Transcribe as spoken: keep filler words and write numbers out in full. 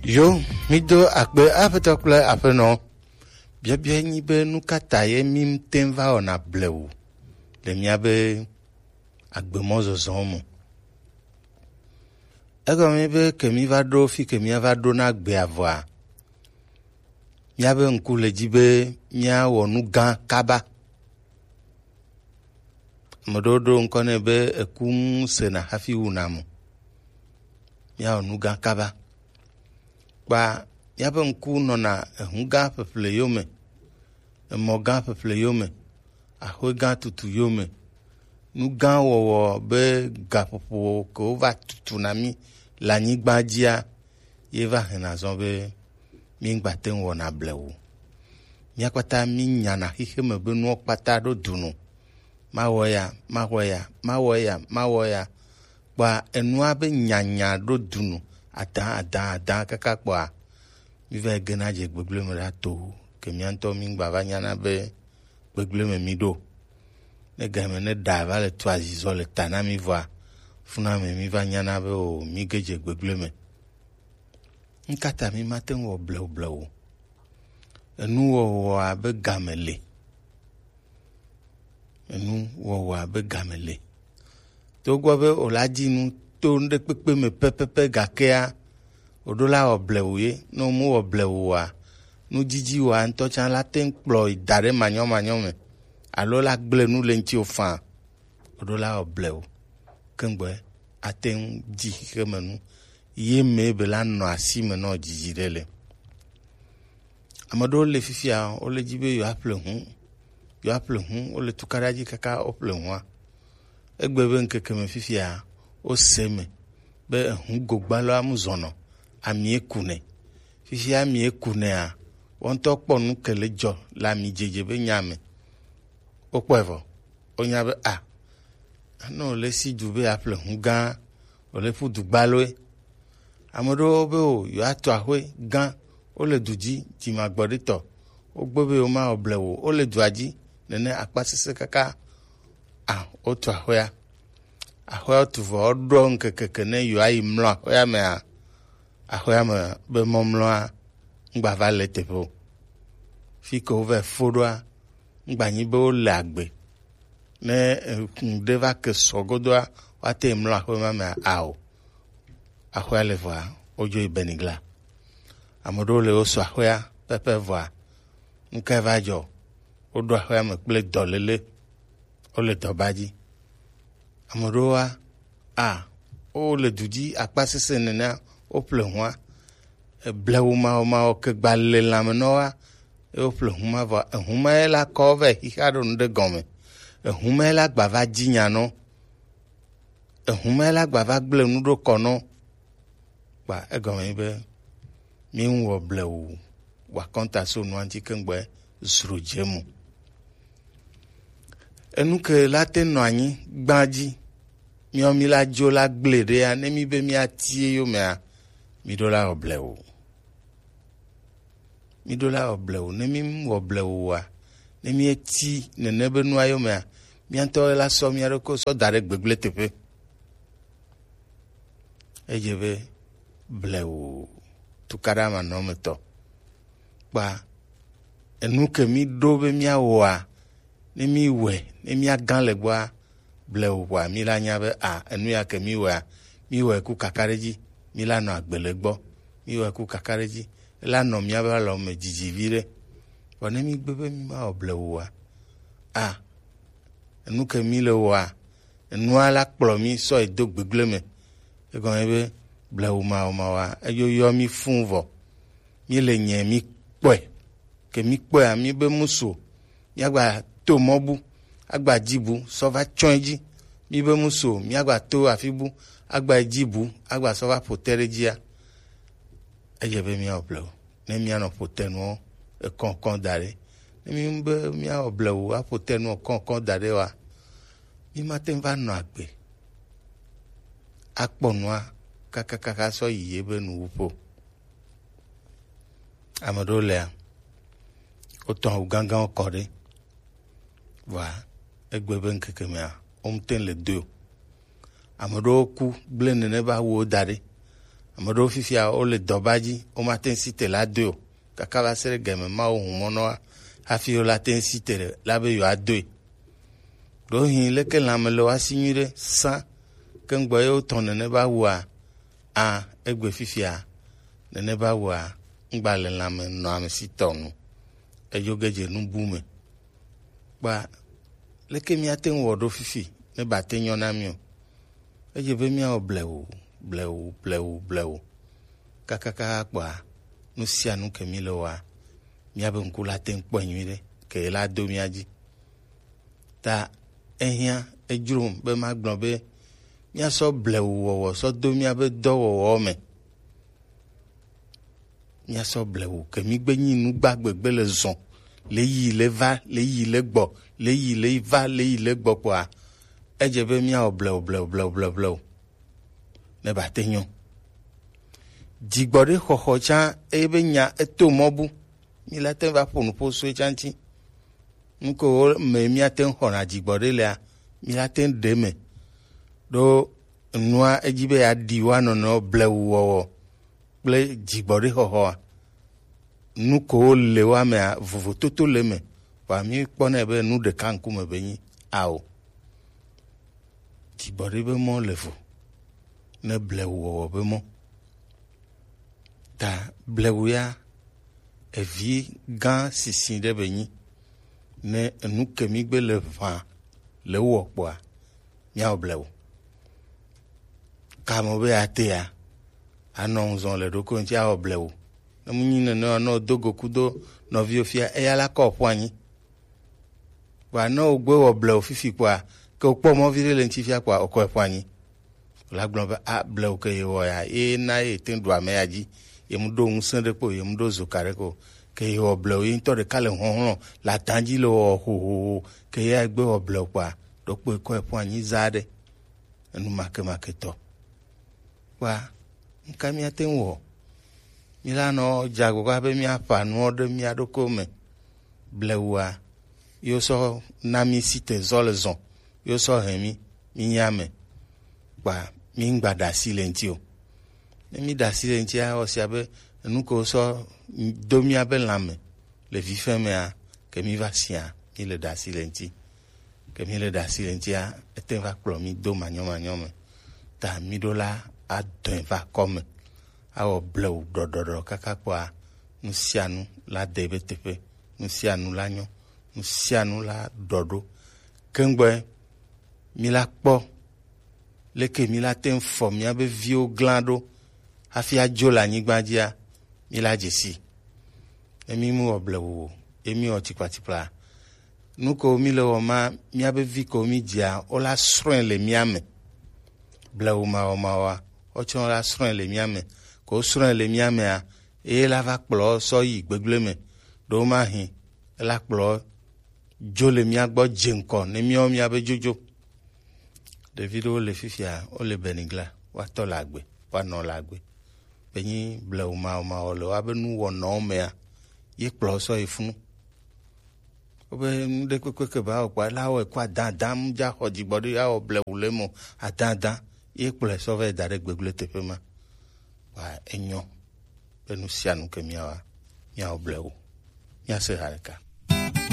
Yo, mi do akpe aƒetɔ kple aƒenɔ. Biabia nyi be nu ka ta ye mi ŋute va wɔna blewu le míabe agbemɔzɔzɔ me? Egɔme be ke mi va ɖo fi ke mi va ɖo na gbea vɔa, míabe ŋku le dzi be míawɔ nu gã kaba. Ame ɖewo ɖo ŋkɔ nɛ be eku ŋu sena hafi wuna mo. Míawɔ nu gã kaba. Kpa míaƒe ŋku nɔna ehu gã ƒeƒle yome, emɔ gã ƒeƒle yome, axwe gã tutu yome. Nu gã wɔwɔ be gaƒoƒo ke wova tutu na mí le anyigba dzia, ye va hena zɔ be mígba te ŋu wɔna blewu. Mía kpata mínyana xixeme be nuwo kpata ɖo du nu. Mawɔ ya, mawɔ ya, mawɔ ya, mawɔ ya. Kpa enua be nyanya ɖo du nu, adã, adã, adã kaka kpɔa, mí va yi gena dze gbegblẽ me ɖa to ke mía ŋutɔ mígba va nyana be gbegblẽ me mí ɖo. Ne game ne ɖa va le tu azizɔ le ta na mí vɔa, funa me mí va nyana be o, mí ge dze gbegblẽ me. Nu ka ta mí mate ŋu wɔ blewu blewu o? Enu wɔwɔa be game le. Enu wɔwɔa be game le. Togbɔ be o la dzi nu to nuɖekpekpe me pɛpɛpɛ gakea, o ɖo la wɔ blewu ye. Ne o mu wɔ blewu oa, nu dzidzi wa ŋutɔ tsã la te ŋu kplɔ yi da ɖe manyɔmanyɔ me, alo la gblẽ nu le ŋuti o faa. O ɖo la wɔ blewu. Kengbe ate ŋu dzi xixeme nu. Ye me be la nɔ asi me nɔ dzidzi ɖe le. Ame ɖewo le fifia, wole dzi be yewoaƒle hu, yewoaƒle hu, wole tukaɖa dzi kaka woƒle hua. Egbe be ŋkeke me fifia, wose me be ehu gogbalɔa mu zɔnɔ, amie ku nɛ. Fifia amie ku nɛa, wo ŋutɔ kpɔ nu ke le dzɔ le ami dzedze be nya me. Wokpɔe vɔ. Wonya be a, ne wòle si du be yeaƒle hu gã, wòle ƒu du gbaloe. Ame ɖewo be o, yewoatu axwe gã, wole du dzi, dzimagbɔɖitɔ. Wogbe be yewomawɔ blewu o, wole dua dzi, nene akpa sesẽ kaka. A, wotu axwea. Axwea wotu vɔ, woɖɔ ŋkeke ke ne yewoayi mlɔ axwea mea, axwea me be mɔmlɔa, ŋgba va le teƒe o. Fi ke wovɛ fo ɖoa, ŋgba nyi be wole agbe. Ne, eh, ŋɖe va ke sɔ godoa, woate ŋu mlɔ aƒe ma mea? Ao. Aƒea le vɔa, wodzo yi Benigla. Ame ɖewo le wo sɔ aƒea pɛpɛ vɔa, nu kae va dzɔ? Woɖo aƒea me kple dɔléle, wole dɔba dzi. Ame ɖewoa, a, wole du dzi akpa sesẽ nenea, woƒle hua. Eblewu mawɔmawɔ ke gba le lãme nɔ wa, ye woƒle hu ma vɔ. Ehu ma ye la kɔ vɛ xixa ɖo nu ɖe gɔme. Ehu ma ye la gba va dzi nya nɔ. Ehu ma ye la gba va gblẽ nu ɖo kɔ nɔ. Kpa egɔme nyi be, mi ŋu wɔ blewu, wa kɔnta so nua ŋuti keŋgbɛ zro dze mu. Enu ke la te nɔ anyi gbã dzi, miɔ mi la dzo la gblẽ ɖea, ne mi be mi atie yomea, mi ɖo la wɔ blewu. Mi ɖo la wɔ blewu. Ne mi wɔ blewu wa, ne mi eti nene be nua yomea, mia ŋutɔ la sɔ mia ɖokui sɔ da ɖe gbegblẽ teƒe. Edze be blewu tukaɖa manɔmetɔ. Kpa enu ke mi ɖo be miawɔa, ne mi wɔe, ne mia gã le gbɔa, blewu kpɔa, mi la nya be a, enu ya ke mi wɔa, mi wɔe ku kakaɖedzi, mi la nɔ agbe le gbɔ, mi wɔe ku kakaɖedzi, la nɔ miabe alɔ me dzidzi viɖe. Vɔ ne mi gbe be mi ma wɔ blewu wa, a, enu ke mi le wɔa, enua la kplɔ mi sɔ yi do gbegblẽ me. Egɔme be blewu mawɔmawɔa, eyo yɔ mi fũ vɔ. Mi le nyɛ mi kpɔe. Ke mi kpɔea, mi be musu o. Mi agba to mɔ bu, agba dzi bu, sɔ va tsɔe dzi. Mi be musu o, mi agba to afi bu, agba dzi bu, agba sɔ va ƒo te ɖe dzia. Edze be miawɔ blewu. Ne mianɔ ƒo te nuɔ ekɔkɔ da ɖe. Ne mi be miawɔ blewu aƒo te nuɔ kɔkɔ da ɖe wa, mi ma te ŋu va nɔ agbe. Akpɔ nua kakakaka sɔ yi ye be nuwuƒo. Ame ɖewo lea, wotɔ awu gãgãwo kɔ ɖe. Vɔa, egbe be ŋkeke mea, wo ŋute le doe o. Ame ɖewo ku gblẽ nene be awuwo da ɖe. Ame ɖewo fifia, wole dɔba dzi, womate ŋu si te la doe o. Kaka va se ɖe game Mawu hu mɔ nɔ wa hafi wola te ŋu si te ɖe la be yewoadoe. Ɖewohĩ leke lãme le woasi nyuiɖe sã keŋgbɔ ye wotɔ̃ nene va wua, a, egbe fifia, nene va wua, ŋgba le lãme nɔ ame si tɔ nu. Edzo ge dze nubu me. Kpa, leke míate ŋu wɔ ɖo fifi ne ba te nyɔ na mí o? Edze be míawɔ blewu, blewu, blewu, blewu. Kakakaka kpɔa, nu sia nu ke míle wɔa, míabe ŋku la te ŋu kpɔe nyuiɖe, ke ye la do mía dzi. Ta ehiã, edzrom be magblɔ be míasɔ blewu wɔwɔ sɔ do míabe dɔwɔwɔ me. Míasɔ blewu ke mígbe nyi nu gbagbe gbe le zɔn, le yi le va, le yi le gbɔ, le yi le va, le yi le gbɔ kpɔa, edze be míawɔ blewu, blewu, blewu, blewu, blewu. Ne ba te nyɔ. Dzigbɔɖi xɔxɔ tsã, eye be nya eto mɔ bu. Mí la te ŋu va ƒo nu ƒo so etsã ŋuti. Nu ke wo me míate ŋu xɔna dzigbɔɖi lea, mí la te ŋu ɖe me. Ɖo nua edzi be yeaɖi woa nɔnɔewo blewu wɔwɔ kple dzigbɔɖi xɔxɔa. Nu ke wo le woa mea, vovototo le eme. Vɔa mí kpɔnɛ be nu ɖeka ŋkume be nyi ao. Dzigbɔɖi be mɔ le vo ne blewu wɔwɔ be mɔ. Ta blewu ya, evi gã sisi ɖe be nyi. Ne enu ke mí gbe le ʋã le wɔ kpɔa, míawɔ blewu. Kame be atea, anɔ ŋu zɔn le ɖokui ŋuti awɔ blewu. Ne mu nyi nene o, ne do go kudo nɔviwo fia, eya la kɔ ƒu anyi. Vɔa ne wogbe wɔ blewu fifi kpɔa, ke wokpɔ mɔ viɖe le ŋuti fia kpɔa, wokɔe ƒu anyi. La gblɔ be, a, blewu ke yewɔ ya, ye na ye te ɖu ame ya dzi, ye mu ɖo ŋusẽ ɖe kpo, ye mu ɖo zoka ɖe ko. Ke yewɔ blewu, ye ŋutɔ ɖeka le hlɔ̃hlɔ̃ le adã dzi le wɔ hohoho, ke ya gbe wɔ blewu kpɔa, ɖo kpoe kɔe ƒu anyi za ɖe. Enu makemake tɔ. Kpɔa, nu ka míate ŋu wɔ? Míla nɔ dze agbagba be míaƒã nuwo ɖe mía ɖokuiwo me. Blewua, yewo sɔ na mí si te zɔ le zɔn, yewo sɔ hɛn mí, mí nye ame. Kpɔa, mí ŋgba ɖe asi le ŋuti o. Ne mí ɖe asi le ŋutia, ewɔ sia be enu ke wosɔ do míabe lãme le vifɛ mea, ke mí va sia, mí le ɖe asi le ŋuti. Ke mí le ɖe asi le ŋutia, ete va kplɔ mí do manyɔmanyɔ me. Ta mí ɖo la adɔe va kɔ me. Awɔ blewu ɖɔɖɔɖɔ kaka kpɔa, nu sia nu la de ebe teƒe, nu sia nu la nyɔ, nu sia nu la ɖɔ ɖo. Keŋgbɔe mí la kpɔ leke mí la te ŋu fɔ míabe viwo glã ɖo hafi adzo le anyigba dzia, mí la dze si. Ne mí mu wɔ blewu o, ye mí wɔ tikpatikpla. Nu kewo mí le wɔ ma, míabe vi kewo mí dzia, wo la srɔ̃e le mía me. Blewu mawɔmawɔa, wotsɔ la srɔ̃e le mía me. Ko srɔ̃e le mía mea, eye la va kplɔ sɔ yi gbegblẽ me. Ɖo ma hin, ela kplɔ dzo le mía gbɔ dze ŋkɔ ne míawo míabe dzodzo. Ɖevi ɖewo le fifia, wole Benigla, woatɔ le agbe, woanɔ le agbe. Be nyi blewu mawɔmawɔ le woabe nuwɔnawo mea, ye kplɔ sɔ yi funu. Wobe nu ɖe kpekpe ke ba wɔ kpɔa, la wɔe kɔ adadam dza xɔ dzigbɔɖi awɔ blewu le mo adada, ye kplɔe sɔ va yi da ɖe gbegblẽ teƒe ma. Wa enyɔ be nu sia nu ke míawa, míawɔ blewu. Míase ha ɖeka.